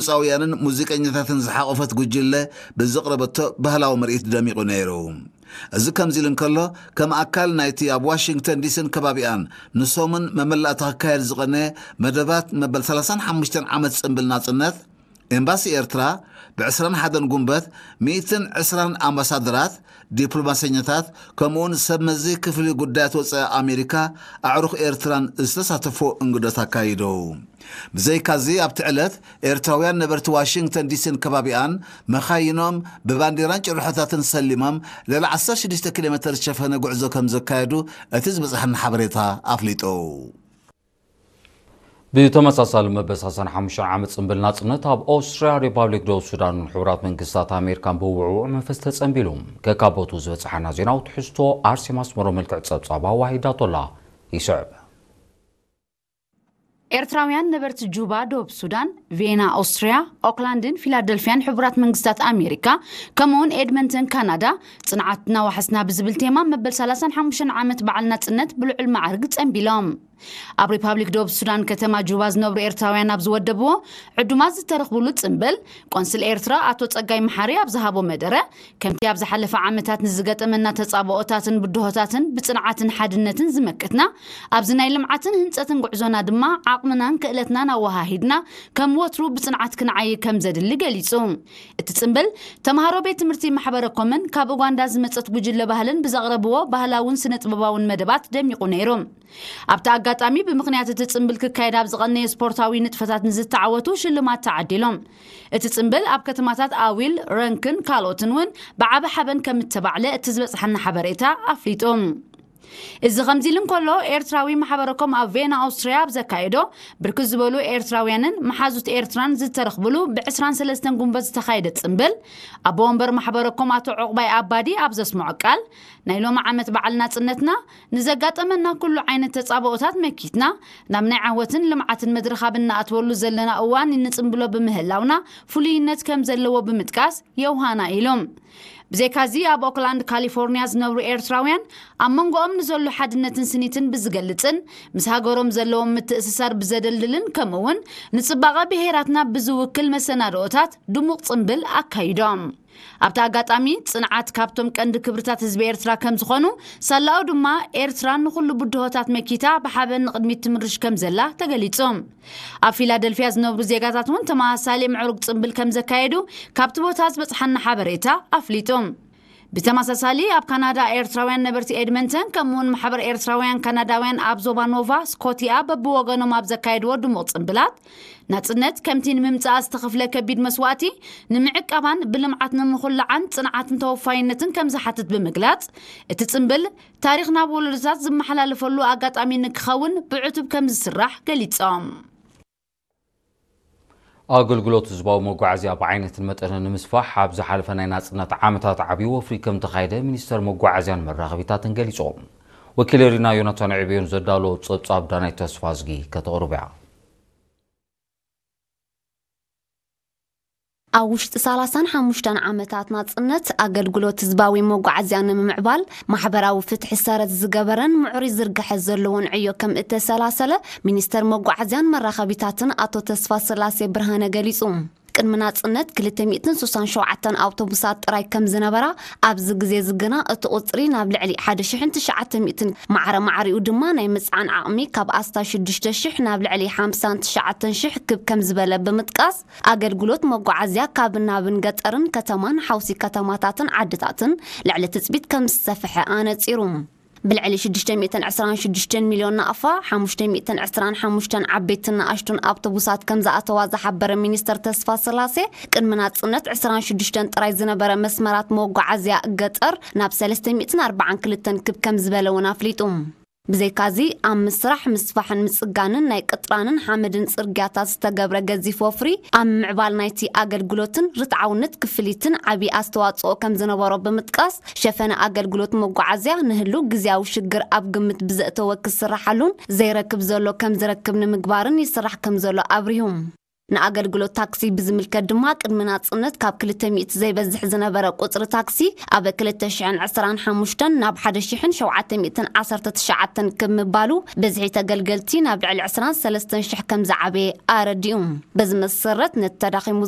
ድምፃውያንን ሙዚቀኛታትን ዝሓቖፈት ጉጅለ ብዘቕረበቶ ባህላዊ ምርኢት ደሚቑ ነይሩ። እዚ ከምዚ ኢሉ እንከሎ፣ ከም ኣካል ናይቲ ኣብ ዋሽንግተን ዲሲን ከባቢኣን ንሰሙን መመላእታ ክካየድ ዝቐነየ መደባት መበል ሰላሳን ሓሙሽተን ዓመት ጽምብል ናጽነት፣ ኤምባሲ ኤርትራ ብ ዕስራን ሓደን ጉንበት ሚእትን ዕስራን ኣምባሳደራት፣ ዲፕሎማሰኛታት፣ ከምኡውን ሰብ መዚ ክፍሊ ጉዳያት ወጻኢ ኣሜሪካ፣ ኣዕሩኽ ኤርትራን ዝተሳተፎ እንግዶት ኣካይዱ። ብዘይካዚ ኣብቲ ዕለት ኤርትራውያን ነበርቲ ዋሽንግተን ዲሲን ከባቢኣን መኻይኖም ብባንዲራን ጭርሖታትን ሰሊሞም ልዕሊ ዓሰርተ ሽዱሽተ ኪሎ ሜተር ዝሸፈነ ጉዕዞ ከም ዘካየዱ እቲ ዝበጽሐና ሓበሬታ ኣፍሊጡ። ብተመሳሳሊ መበል ሰላሳን ሓሙሽተን ዓመት ጽምብል ናጽነት ኣብ ኦስትርያ፣ ሪፓብሊክ ደቡብ ሱዳንን ሕቡራት መንግስታት ኣሜሪካን ብውዕዉዕ መንፈስ ተጸንቢሉ። ከካቦቱ ዝበጽሓና ዜናዊ ትሕዝቶ ኣርሴማ ኣስመሮ መልክዕ ጸብጻባ ዋሂዳቶላ ይስዕብ። ኤርትራውያን ነበርቲ ጁባ ደቡብ ሱዳን፣ ቬና ኦስትርያ፣ ኦክላንድን ፊላደልፊያን ሕቡራት መንግስታት ኣሜሪካ፣ ከምኡውን ኤድመንተን ካናዳ፣ ጽንዓትና ዋሕስና ብዝብል ቴማ መበል ሰላሳን ሓሙሽተን ዓመት በዓል ናጽነት ብልዑል ማዕርግ ጸንቢሎም። ኣብ ሪፓብሊክ ደቡብ ሱዳን ከተማ ጁባ ዝነብሩ ኤርትራውያን ኣብ ዝወደብዎ ዕዱማት ዝተረኽብሉ ጽምብል፣ ቆንስል ኤርትራ ኣቶ ጸጋይ መሓሪ ኣብ ዝሃቦ መደረ፣ ከምቲ ኣብ ዝሓለፈ ዓመታት ንዝገጠመና ተጻብኦታትን ብድሆታትን ብጽንዓትን ሓድነትን ዝመከትና፣ ኣብዚ ናይ ልምዓትን ህንጸትን ጉዕዞና ድማ ዓቕምናን ክእለትናን ኣወሃሂድና ከም ወትሩ ብጽንዓት ክንዓይ ከም ዘድሊ ገሊጹ። እቲ ጽምብል፣ ተምሃሮ ቤት ትምህርቲ ማሕበረ ኮምን ካብ ኡጋንዳ ዝመጸት ጉጅለ ባህልን ብዘቕረብዎ ባህላውን ስነ ጥበባውን መደባት ደሚቑ ነይሩ። ኣብቲ ኣጋጣሚ፣ ብምኽንያት እቲ ጽምብል ክካየድ ኣብ ዝቐነየ ስፖርታዊ ንጥፈታት ንዝተዓወቱ ሽልማት ተዓዲሎም። እቲ ጽምብል ኣብ ከተማታት ኣዊል፣ ረንክን ካልኦትን እውን ብዓቢ ሓበን ከም እተባዕለ እቲ ዝበጽሓና ሓበሬታ ኣፍሊጡ። እዚ ከምዚ ኢሉ እንከሎ፣ ኤርትራዊ ማሕበረኮም ኣብ ቬና ኣውስትርያ ኣብ ዘካየዶ፣ ብርክት ዝበሉ ኤርትራውያንን መሓዙት ኤርትራን ዝተረኽብሉ ብ ዕስራን ሰለስተን ጉንበት ዝተኻየደ ጽምብል፣ ኣቦ ወንበር ማሕበረኮም ኣቶ ዑቕባይ ኣባዲ ኣብ ዘስምዖ ቃል፣ ናይ ሎሚ ዓመት በዓል ናጽነትና ንዘጋጠመና ኩሉ ዓይነት ተጻብኦታት መኪትና፣ ናብ ናይ ዓወትን ልምዓትን መድረኽ ኣብ እንኣትወሉ ዘለና እዋን እንጽምብሎ ብምህላውና ፍሉይነት ከም ዘለዎ ብምጥቃስ፣ የውሃና ኢሎም። ብዘይካዚ፣ ኣብ ኦክላንድ ካሊፎርኒያ ዝነብሩ ኤርትራውያን፣ ኣብ መንጎኦም ንዘሎ ሓድነትን ስኒትን ብዝገልጽን፣ ምስ ሃገሮም ዘለዎም ምትእስሳር ብዘደልድልን፣ ከምኡ'ውን ንጽባቐ ብሄራትና ብዝውክል መሰናድኦታት ድሙቕ ጽምብል ኣካይዶም። ኣብቲ ኣጋጣሚ፣ ጽንዓት ካብቶም ቀንዲ ክብርታት ህዝቢ ኤርትራ ከም ዝኾኑ፣ ሳላኡ ድማ ኤርትራ ንኹሉ ብድሆታት መኪታ ብሓበን ንቕድሚት ትምርሽ ከም ዘላ ተገሊጹ። ኣብ ፊላደልፊያ ዝነብሩ ዜጋታት እውን ተመሳሳሊ ምዕሩግ ጽምብል ከም ዘካየዱ ካብቲ ቦታ ዝበጽሓና ሓበሬታ ኣፍሊጡ። ብተመሳሳሊ ኣብ ካናዳ ኤርትራውያን ነበርቲ ኤድመንተን ከምኡውን ማሕበር ኤርትራውያን ካናዳውያን ኣብ ዞባ ኖቫ ስኮቲያ በብወገኖም ኣብ ዘካየድዎ ድሙቕ ጽምብላት ናጽነት ከምቲ ንምምጻኣ ዝተኸፍለ ከቢድ መስዋእቲ ንምዕቃባን ብልምዓት ንምኹላዓን ጽንዓትን ተወፋይነትን ከም ዝሓትት ብምግላጽ እቲ ጽምብል ታሪኽ ናብ ወለዶታት ዝመሓላለፈሉ ኣጋጣሚ ንክኸውን ብዕቱብ ከም ዝስራሕ ገሊጾም። ኣገልግሎት ህዝባዊ መጓዓዝያ ብዓይነትን መጠንን ንምስፋሕ ኣብ ዝሓለፈ ናይ ናጽነት ዓመታት ዓብዪ ወፍሪ ከም ተኻየደ ሚኒስተር መጓዓዝያን መራኸቢታትን ገሊጹ። ወኪል ሪና ዮናታን ዕብዮን ዘዳሎ ጸብጻብ ዳናይት ተስፋዝጊ ከተቕርብ እያ። ኣብ ውሽጢ ሰላሳን ሓሙሽተን ዓመታት ናጽነት ኣገልግሎት ህዝባዊ መጓዓዝያ ንምምዕባል ማሕበራዊ ፍትሒ ሰረት ዝገበረን ምዕሩይ ዝርግሐ ዘለዎን ዕዮ ከም እተሰላሰለ ሚኒስተር መጓዓዝያን መራኸቢታትን ኣቶ ተስፋ ስላሴ ብርሃነ ገሊጹ። ቅድሚ ናጽነት ክልተ ሚእትን ስሳን ሸውዓተን ኣውቶቡሳት ጥራይ ከም ዝነበራ፣ ኣብዚ ግዜ እዚ ግና እቲ ቁጽሪ ናብ ልዕሊ ሓደ ሽሕን ትሽዓተ ሚእትን፣ ማዕረ ማዕሪኡ ድማ ናይ ምጽዓን ዓቕሚ ካብ ኣስታት ሽዱሽተ ሽሕ ናብ ልዕሊ ሓምሳን ትሽዓተን ሽሕ ክብ ከም ዝበለ ብምጥቃስ፣ ኣገልግሎት መጓዓዝያ ካብ ናብን ገጠርን ከተማን ሓውሲ ከተማታትን ዓድታትን ልዕሊ ትጽቢት ከም ዝሰፍሐ ኣነጺሩ። ብልዕሊ ሽዱሽተ ሚእትን ዕስራን ሽዱሽተን ሚልዮን ናቕፋ፣ ሓሙሽተ ሚእትን ዕስራን ሓሙሽተን ዓበይትን ንኣሽቱን ኣውቶቡሳት ከም ዝኣተዋ ዝሓበረ ሚኒስተር ተስፋ ስላሴ፣ ቅድሚ ናጽነት ዕስራን ሽዱሽተን ጥራይ ዝነበረ መስመራት መጓዓዝያ ገጠር ናብ ሰለስተ ሚእትን ኣርባዓን ክልተን ክብ ከም ዝበለ እውን ኣፍሊጡ። ብዘይካዚ፣ ኣብ ምስራሕ፣ ምስፋሕን ምጽጋንን ናይ ቅጥራንን ሓመድን ጽርግያታት ዝተገብረ ገዚፍ ወፍሪ፣ ኣብ ምዕባል ናይቲ ኣገልግሎትን ርትዓውነት ክፍሊትን ዓቢ ኣስተዋጽኦ ከም ዝነበሮ ብምጥቃስ፣ ሸፈነ ኣገልግሎት መጓዓዝያ ንህሉ ግዝያዊ ሽግር ኣብ ግምት ብዘእተወ ክስርሓሉን ዘይረክብ ዘሎ ከም ዝረክብ ንምግባርን ይስራሕ ከም ዘሎ ኣብሪሁ። ንኣገልግሎት ታክሲ ብዝምልከት ድማ፣ ቅድሚ ናጽነት ካብ ክልተ ሚእቲ ዘይበዝሕ ዝነበረ ቁጽሪ ታክሲ፣ ኣብ ክልተ ሽሕን ዕስራን ሓሙሽተን ናብ ሓደ ሽሕን ሸውዓተ ሚእትን ዓሰርተ ትሽዓተን ክምባሉ፣ ብዝሒ ተገልገልቲ ናብ ልዕሊ ዕስራን ሰለስተን ሽሕ ከም ዝዓበየ ኣረዲኡ። በዚ መሰረት፣ ነቲ ተዳኺሙ